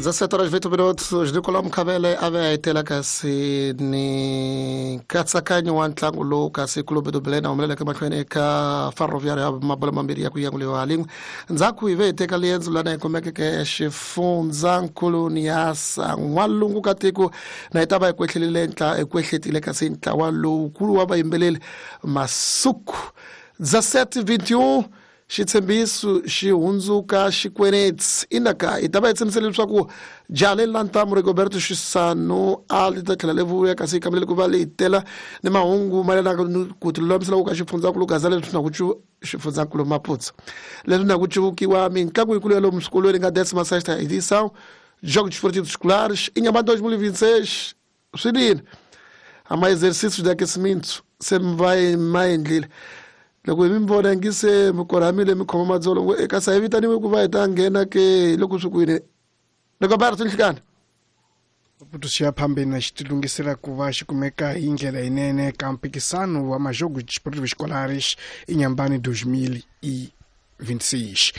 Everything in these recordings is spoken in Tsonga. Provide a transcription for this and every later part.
17 horas 8 minutos. Nicolau Mkhabele a ve a etela kasi ni nkatsakanyo wa ntlangu lowu kasi Clube do Belém humeleleke mahlweni eka Ferroviário ya mabolo mambirhi ya ku yanguliwa lin'we. Ndzhaku hi ve hi teka liendzo lana hi kumekeke xifundzankulu Niassa n'walungu ka tiko na hi ta va hi kwehlelile hi kwehletile kasi ntlawa lowukulu wa vayimbeleri Masuku. 17:21 xitshembiso xi hundzuka xikweneti inaka hi ta va hi tshembisile leswaku jaha leri la ntamu Rigoberto Xisano a li ta tlhela li vuya kasi yi kambelele ku va leyi tela ni mahungu mayelana ni ku tilulamisela ku ka xifundzankulu gaza leswi na ku xifundzankulu Maputo leswi na ku cuvukiwa mitlangu yikulu ya lomu swikolweni nga 16ª edição Jogos Desportivos Escolares Inhambane 2026 swinene a ma exercícios de aquecimento se va ma endlile loko hi mi vona ngi se mi korhamile mi khoma madzolo ngo eka sa hi vitaniwe ku va hi ta nghena ke loko swi kwini loko va ri tinhlikani. Maputo xi ya phambeni na xi tilunghisela ku va xi kumeka hi ndlela yinene ka mphikisano wa Majogos Desportivos Escolares Inhambane 2026.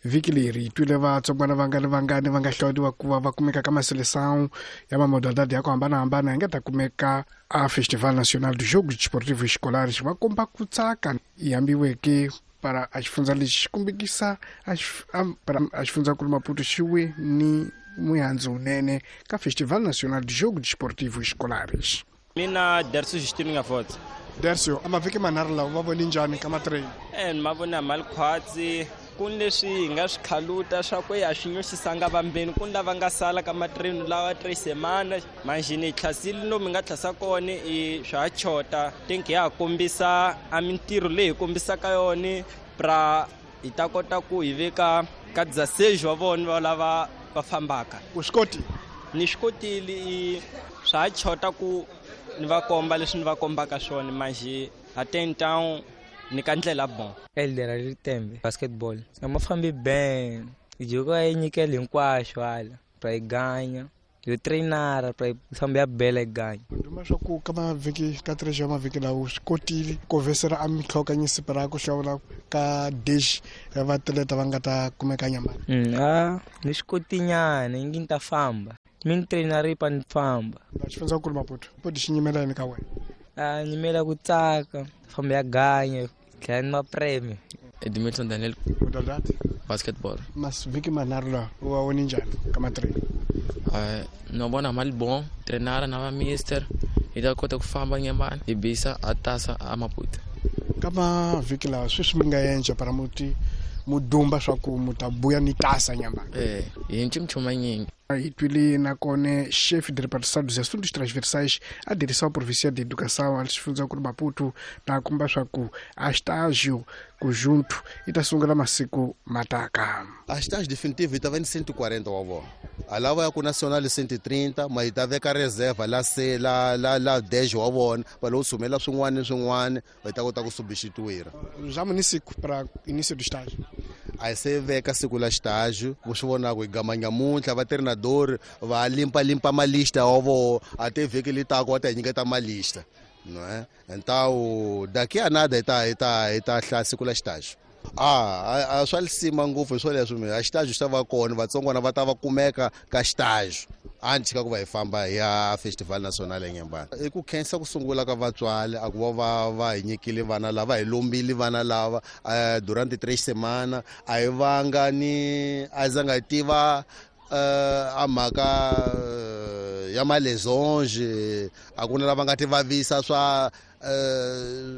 Vhiki leri hi twile vatsongwana vangani vangani va nga hlawuriwa ku va va kumeka ka maseleção ya mamodalidade ya ku hambanahambana yi nga ta kumeka a Festival Nacional de Jogos Desportivos Escolares va komba ku tsaka yi hambiweke para a xifundza lexi xi kombekisa para a xifundzankulu Maputo xi we ni muhandzu wunene ka Festival Nacional de Jogos Desportivos Escolares. Mina Dercio Justino Ngafotse. Dercio, a mavhiki manharhu lawa va voni njhani ka matrain? Ni ma vona mali khwatsi ku ni leswi hi nga swi khaluta swa ku ya swi nyosisanga vambeni ku ni lava nga sala ka matrain lawa tres semana manjhini hi tlhasile lomu hi nga tlhasa kona i swa ha chota think ya ha kombisa a mintirho leyi hi kombisaka yona pra hi ta kota ku hi veka ka dzaseji wa vona va lava va fambaka. U swi kotile? Ni swi kotile i swa ha chota ku ni va komba leswi ni va kombaka swona manjhe até então ni ka ndlela bon. Elder Ritembe basketball a ma fambi ben joko a yi nyikela hinkwaxo hala pra yi ganya yo trainara pra yi famba ya bela yi ganya. Nduma swa ku ka mavhiki ka tres ya mavhiki lawa swi kotile ku vesela a mitlhokanyisi pra ku hlawula ka dish ya vatleta va nga ta kumeka nyamani. A ni swi kotinyana ingi ni ta famba mi ni trainara pa ni famba. Xifundzankulu Maputo poti xi nyimela yini ka wena? A nyimela ku tsaka famba ya ganya tlhela ni mapreme. Edmilton Daniel. Modalidade? Basketball. Masivhiki manharhu lawa u va voni njhani ka matrain? No vona mali bon trainara na va mister hi ta kota ku famba nyamani hi bisa a tasa a Maputo. Ka mavhiki lawa sweswi mi nga endla para muti mudumba swa ku mu ta buya ni tasa nyamani? Hi nchumu manyingi. Hi twile nakona chefe de repartição dos assuntos transversais a direção provincial de educação a xifundzankulu Maputo na komba swa ku a estágio conjunto yi ta sungula masiku mataka. A estágio definitivo yi ta va ni 140 wa vona a lava ya ku national 130 ma yi ta veka reserva la se la la la 10 wa vona va lo sumela swin'wana ni swin'wana va ta kota ku substituir. Já ni siku para início do estágio. A hi se veka siku la estágio vo swi vona ku hi gama nyamuntlha va treinador va limpalimpa malista wa voho a te vhiki li tako va ta hi nyiketa malista não é? Então daqui a nada hi ta hi ta hi ta hlaya siku la estágio. A swa lisima ngopfu hi swo leswo a estágio xi ta va kona vatsongwana va ta va kumeka ka estágio anti ka ku va hi famba hi ya Festival Nacional eNyembani. I ku khensa ku sungula ka vatswari a ku va va hi nyikile vana lava hi lombile vana lava durante 3 semana a hi vanga ni a zanga hi tiva a mhaka ya malesonge a ku na lava nga ti vavisa swa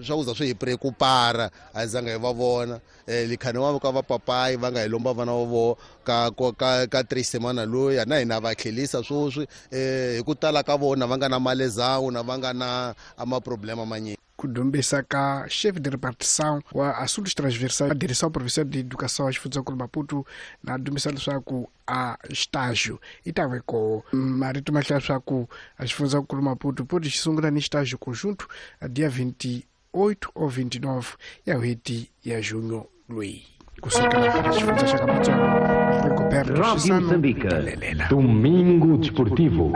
swa ku za swi hi preocupara a zanga hi va vona likhani wa ka vapapayi va nga hi lomba vana va voho ka ka ka 3 semana loyi na hina va tlhelisa sweswi hi ku tala ka vona va nga na malezawu na va nga na maproblema manyingi. Ku dumbisa ka chefe de repartição wa assuntos transversais a direção provincial de educação a xifundzankulu Maputo na dumbisa leswaku a estágio yi ta ve koho marito ma hlaya swa ku a xifundzankulu Maputo poti xi sungula ni estágio conjunto a dia 28 ou 29 ya n'hweti ya junho loyi kusuka xifundza xa ka Matsonga Rigoberto Rádio Xisano Moçambique. Talelela. Domingo Desportivo.